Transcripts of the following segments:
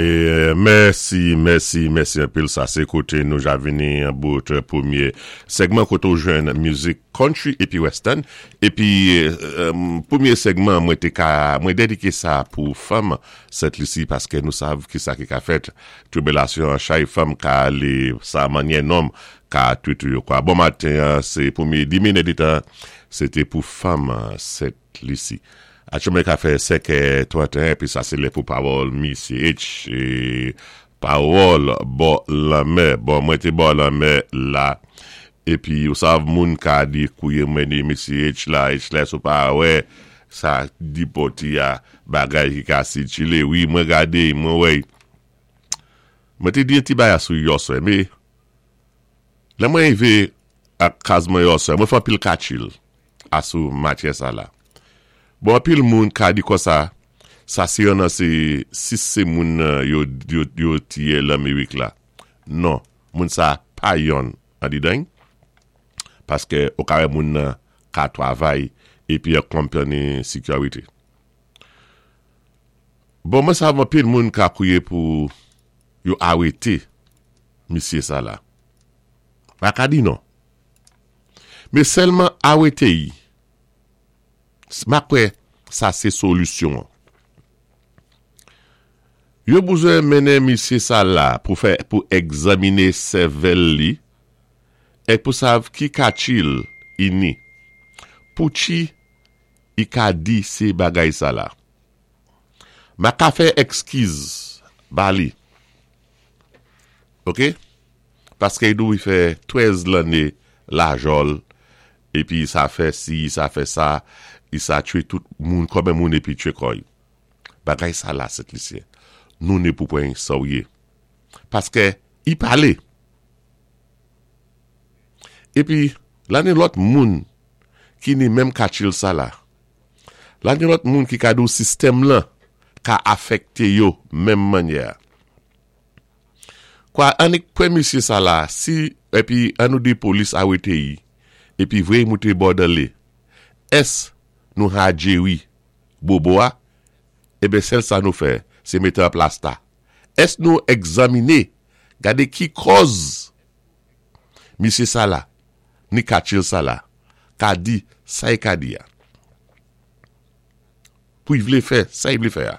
Mèsi mèsi mèsi anpil sa se kote nou ja vini an bout premye sègman kote ou jwenn mizik country epi western epi premye sègman mwen te ka mwen dedike sa pou fanm Sent Lisi paske nou sav kisa ki ka fèt tribilasyon an chay fanm ka ale sa manyè nonm ka twit yo kwa bon maten an se premye 10 minit se te pou fanm Sent Lisi. Atchoumen ka fè 5 è 31 epi sa se lè pou pawòl misye H pawòl bò lanmè bon mwen te bò lanmè la epi ou sav moun ka di kouye mwen di misye H la H la èske ou pa wè sa dipòti a bagay ki ka sitile wi mwen gade mwen wè mwen te di yon ti bagay sou yòswè me lè mwen rive ak kaz mwen yòswè mwen fè anpil katchil. A sou matyè sa la. Bon anpil moun ka di konsa sa se yon nan se 6 se moun nan yo yo tiye lanmerik la non moun sa pa yonn andidan y paske ou ka wè moun nan ka twavay epi yon company security bon mwen sav anpil moun ka kouye pou yo arete misye sa la pa ka di non. Men sèlman arete y. Ma kwè sa se solisyon an. Yo bouzwen mennen misye sa la pou fè pou egzamine sèvèl li ek pou sav ki katchil i ni. Pou tchi i ka di se bagay sa la. Ma ka fè ekskiz ba li. Ok. Paske i dwe fè 13 lanne lajòl epi sa fè si sa fè sa i sa tchwe tout moun kòmè moun epi tchwe kò i bagay sa la sent lisyen nou ne pou pwen sa w ye paske i pale epi la ni lòt moun ki ni menm katchil sa la la ni lòt moun ki ka di w sistèm lan ka afèkte yo menm mannyè a. Kwa annik pwen misye sa la si epi an nou di polis arete yi epi vre yi moute bòdale es nou ha jeri bobo a eben sèl sa nou fè se mete an plasta es nou egzamine gade ki kòz misye sa la ni katchil sa la ka di sa yi ka di a pou yi vle fè sa yi vle fè a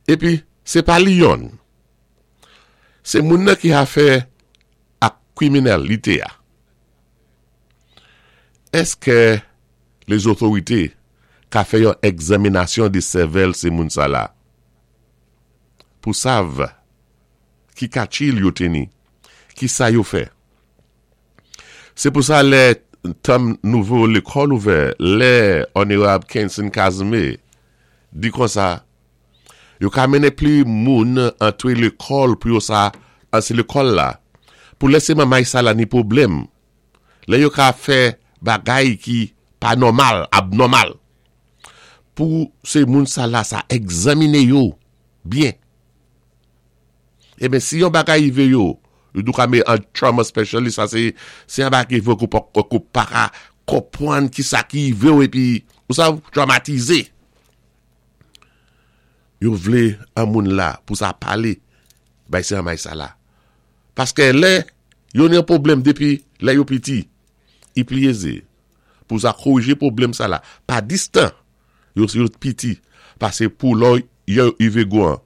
epi se pa li yonn. Se moun nan ki afè ak kriminèl li te a. Eske lezotorite ka fè yon egzaminasyon de sèvèl se moun sa la? Pou sav ki katchil yo teni, ki sa yo fè. Se pou sa lè tèm nouvo lekòl ouvè, lè Onerab Kenson Casimir di konsa, Yo ka mennen pli moun antre lekòl pou yo sa se lekòl la pou lè se manmay sa la ni pwoblèm lè yo ka fè bagay ki pa nòmal abnòmal pou se moun sa la sa egzamine yo byen eben si yon bagay rive yo yo dou ka me an trauma specialist sa se se yon bagay ki rive ou pa ka konpwann ki sa ki rive ou epi ou sa trawmatize. Yo vle an moun la pou sa pale bay se anmay sa la. Paske lè yo gen pwoblèm depi lè yo piti, i pli eze pou sa korije pwoblèm sa la pa distan yo yo piti pase pou lò yo rive gwan.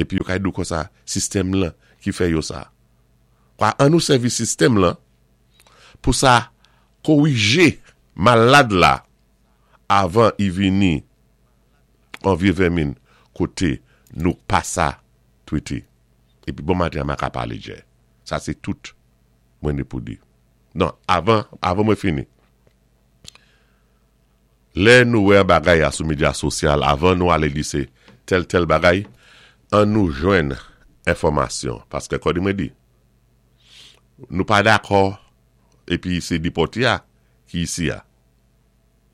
Epi yo ka di w konsa sistèm lan ki fè yo sa. Kwa an nou sèvi sistèm lan pou sa korije malad la avan i vini an vye vèmin kote nou pa sa twete epi bon maten an ma ka pale djè sa se tout mwen ne pou di non avan avan mwen fini lè nou wè an bagay a sou medya sosyal avan nou ale di se tèl tèl bagay an nou jwenn enfòmasyon paske kòdi mwen di nou pa dakò epi se depòte a ki isi a.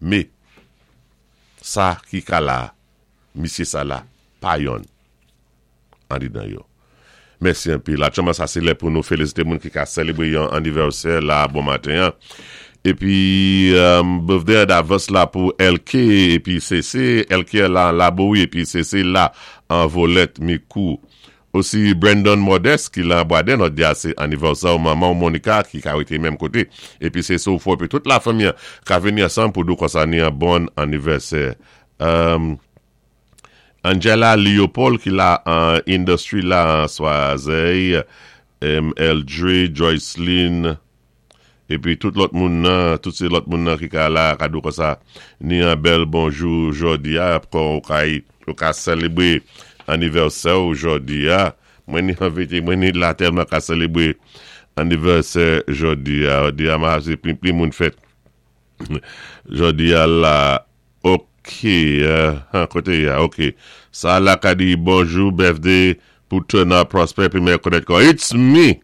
Me sa ki ka la misye sa la pa yonn andedan yo. Mèsi anpil. Aktyèlman sa se lè pou nou felisite moun ki ka selebre yon anivèsè la bon maten an. Épi birthday an davans la pou LK épi CC, LK la an Labowi épi CC la an Volèt Mikou. Osi Brandon Modeste ki lan Bwaden jòdi a se anivèsè w manman w Monica ki ka rete menm kote épi CC w fò épi tout la fanmi an ka vini ansanm pou di w konsa ni an bon anivèsè. Angela Leopold ki la an Industry la an Swazey, Eldre, Joyceline, epi tout lòt moun nan, tout se lòt moun nan ki ka la ka di w konsa ni an bèl bonjou jòdi a, kon ou ka ou ka selebre anivèsè w jòdi a, mwen ni anvete mwen ni la tèlman ka selebre anivèsè jòdi a, jòdi a ma se pli pli moun fèt jòdi a la. Ok han kote ya ok sa la ka di bonjou birthday pou Tona Prosper pi mè konèt kò it's me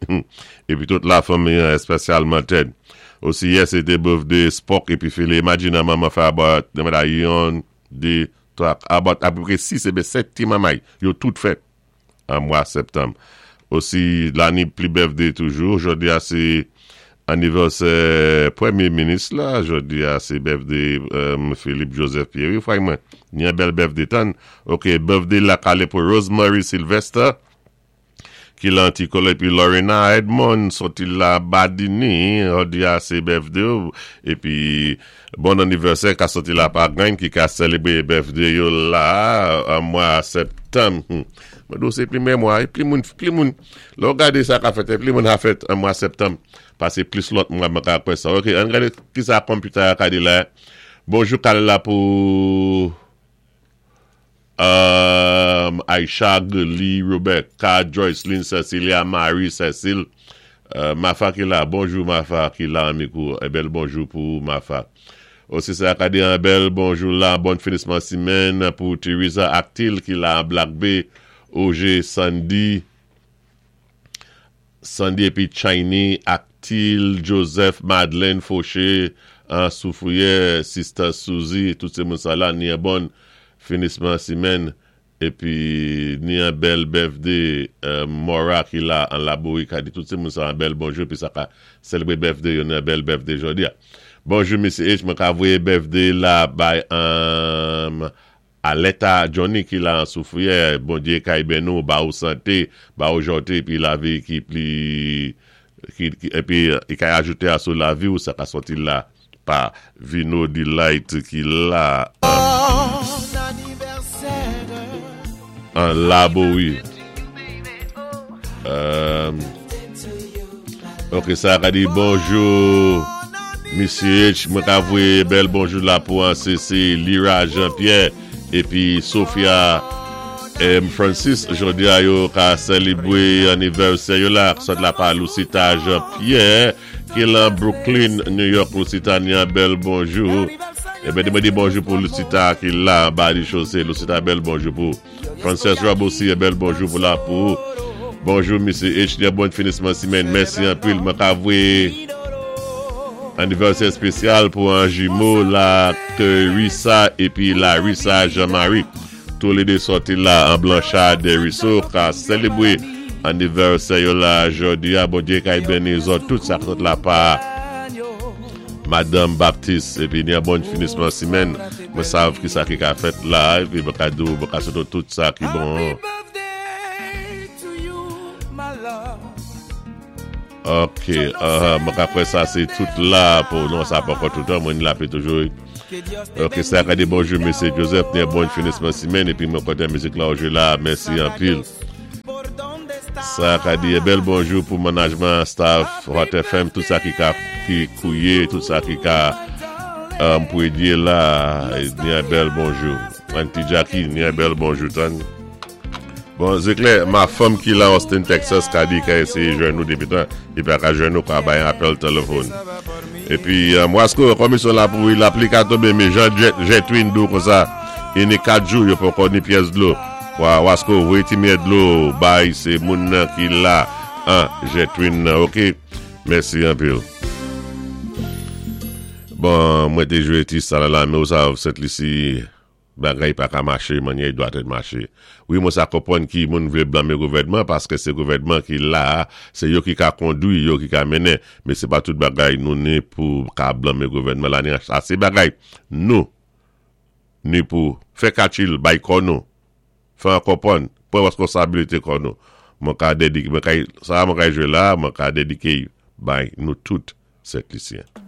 epi tout la fanmi an espesyalman Ted osi yè se te birthday Spock epi Philly imagine an manman fè about yon 2 3 about apeprè 6 ebe 7 ti manmay yo tout fèt. an mwa septanm. Osi lani pli birthday toujou, jodi a se anivèsè premye minis la, jodi a se birthday Philippe Joseph Pierre wi fray mwen, ni yon bèl birthday tann, ok birthday la kale pou Rosemary Sylvester ki lan Antikolo epi Lorena Edmond soti la Badini, jodi a se birthday w epi Bon anivèsè ka soti la pa gany ki ka selebre birthday yo la an mwa septanm humm mwen di w se premye mwa wi pli moun pli moun lè w gade sa ka fèt pli moun a fèt an mwa septanm pase plis lòt mwa mwen ka kwè sa ok ann gade kisa computer a ka di la bonjou kal la pou. Umm Aïcha, Guly, Roberca, Joyceline, Cecilia, Marie, Cecile, Mafa ki la, bonjou Mafa ki la an mikou, en bèl bonjou pou ou Mafa. Osi sa ka di en bèl bonjou la, bon finisman simèn pou Theresa Actil ki la an Black Bay, Oje, Sandy, Sandy epi Chiny, Actil, Joseph, Madeleine, Fauché, an Soufrière, Sister Suzy, tout se moun sa la, ni en bon finisman simèn, epi ni en bèl birthday Mora ki la an Labouri ka di tout se moun sa an bèl bonjou epi sa ka selebre birthday yo ni en bèl birthday jodi a. Bonjou Mesye H, mwen ka voye birthday la bay Alèta Johnny ki la an soufriyè Bondye kay beni w ba ou sante ba ou jòte epi lavi ki pli ki epi li kay ajoute a sou lavi w sa ka sòti la pa Vino Delight ki la an Labowi. Ok sa ka di bonjou Misye H mwen ka voye bèl bonjou la pou an se se Lira Jean Pierre epi Sophia M Francis jodi a yo ka selebre anivèsè yo la sot la pa Lucita Jean Pierre ki lan Brooklyn New York Lucita ni an bèl bonjou Ebyen mwen di bonjou pou Lucita ki la anba di chose Lucita bèl bonjou pou Frances Rob osi yon bèl bonjou pou la pou ou. Bonjou Mesye H bon finisman simèn mèsi anpil mwen ka voye anivèsè espesyal pou an jimo la Theresa epi Larissa Jean Marie tou le 2 sòti la an Blanchard Desruisseaux ka selebre anivèsè yo la jodi a Bondye kay beni zòt tout sa k sot la pa Madanm Baptiste epi ni an bon finisman simèn mwen sav kisa ki ka fèt la epi mwen ka diw mwen ka swete w tout sa ki bon. Ok mwen ka kwè sa se tout la pou non sa poko tout an mwen ni lapli toujou wi ok sa ka di bonjou mesye Joseph ni an bon finisman simèn epi mwen kontan mizik la ou jwe la mèsi anpil. Sa ka di bèl bonjou pou manajman staff Hot FM tout sa ki ka ki kouye tout sa ki ka pwedye la ni yon bèl bonjou Auntie Jackie ni yon bèl bonjou tann Bon se klè ma fanm ki la Austin Texas ka di ka eseye jwenn nou depi tan li pa ka jwenn nou ka bay apèl telefòn epi Wasko komisyon la pou lapli ka tonbe men jan Jetwin di w konsa ini 4 jou yo poko ni pyès dlo Wa wasko voye ti miyè dlo bay se moun nan ki la an jetwin nan ok mèsi anpil. Bon mwen te jwe ti sa la men ou sa sent lisi. Bagay pa ka maché mannyè i dwat èt maché. Wi mwen sa konpwann ki moun vlé blanmé gouvèdman paské sé gouvèdman ki la a, sé yo ki ka kondwi, yo ki ka mennen. Men sé pa tout bagay nou ni pou ka blanmé gouvèdman la ni asé bagay nou ni pou fè katchil bay kò nou, fè an konpwann, pwan reskonsabilité kò nou. Mwen ka dedike, mwen kay, sa a mwen kay jwé la a, mwen ka dedike y bay nou tout Sent Lisyen.